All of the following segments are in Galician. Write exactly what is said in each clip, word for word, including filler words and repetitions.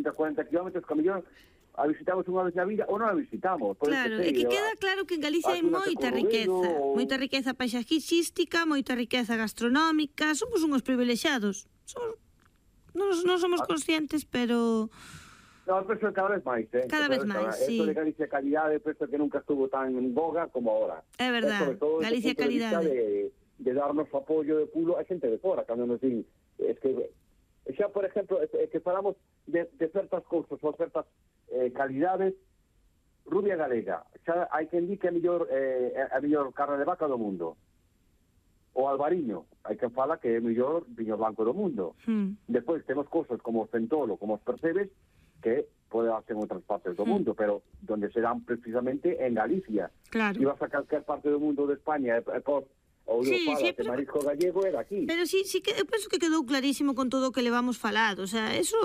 cuarenta kilómetros que a mellor a visitamos unha vez na vida ou non a visitamos. Claro, é que queda claro que en Galicia hai moita riqueza, moita riqueza paisaxística, moita riqueza gastronómica, somos uns privilexiados. Somos, non, non somos conscientes, pero... No, penso cada vez máis, eh? Cada vez máis, sí. Esto de Galicia calidade, penso que nunca estuvo tan en boga como ahora. É verdad, Galicia calidade. De, de darnos apoio de pulo a xente de fora, cando nos din, es que, xa, por exemplo, é que falamos de, de certas cousas ou certas eh, calidades, rubia galega, xa hai quen di que é a mellor, eh, a mellor carne de vaca do mundo. O albariño, hai quen fala que é o mellor viño blanco do mundo. Hmm. Despois temos cousas como o centolo, como os percebes, que pode darse en outras partes do mundo, pero donde se dan precisamente en Galicia. Claro. Si vas a calquer parte do mundo de España, e, e, ou sí, fala, sí, pero... marisco gallego era aquí. Pero sí, sí que eu penso que quedou clarísimo con todo o que levamos falado, o sea, eso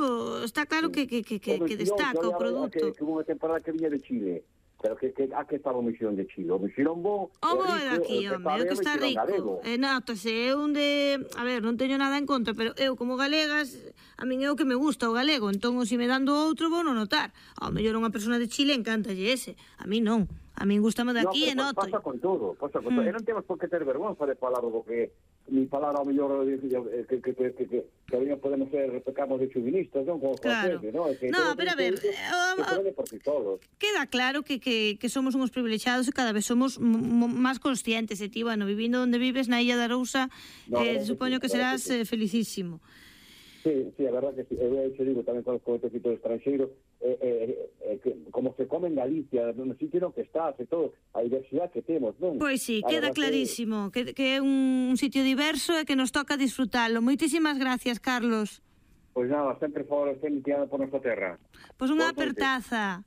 está claro que, que, que, que, que destaca o produto. Que, que hubo unha temporada que viña de Chile, pero que, que a que estaba o mexilón de Chile? O mexilón bo, o bo é daqui, home, o que está rico. Eh, notase, é un de... A ver, non teño nada en contra, pero eu como galegas, a min é o que me gusta o galego, entón, se me dando outro, vou non notar. Ao mellor unha persona de Chile encantalle ese, a mí non. A min gustame daqui no, e noto. Pasa con todo, pasa con hmm. todo. E non temos por que ter vergonza de falar do que ni falar ao mellor que que que que que que que podemos ser pecamos de chuvinistas, non? Como claro. Francés, ¿no? Que no, pero a ver, queda claro que, que, que somos uns privilexiados e cada vez somos máis conscientes. E ti, bueno, vivindo onde vives, na Illa da Arousa, no, eh, supoño que serás sí. eh, felicísimo. Sí, sí, a verdad que sí. Eu te digo tamén con os comentecitos estranxeiros, eh, eh, eh, que, como se come en Galicia, no sitio no que estás e todo, a diversidade que temos, non? Pois sí, queda clarísimo que, que é un sitio diverso e que nos toca disfrutalo. Moitísimas gracias, Carlos. Pois nada, sempre favor, sempre tirando por nosa terra. Pois unha apertaza.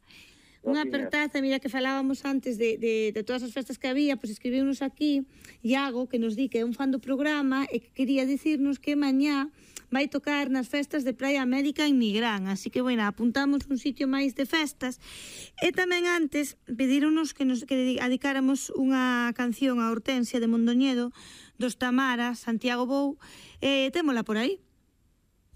Unha apertaza, mira que falábamos antes de, de, de todas as festas que había, pois escribiunos aquí Iago, que nos di que é un fan do programa e que quería dicirnos que mañá vai tocar nas festas de Praia América en Nigrán, así que, bueno, apuntamos un sitio máis de festas. E tamén antes pedironos que nos que dedicáramos unha canción a Hortensia de Mondoñedo, dos Tamara, Santiago Bou, e témola por aí.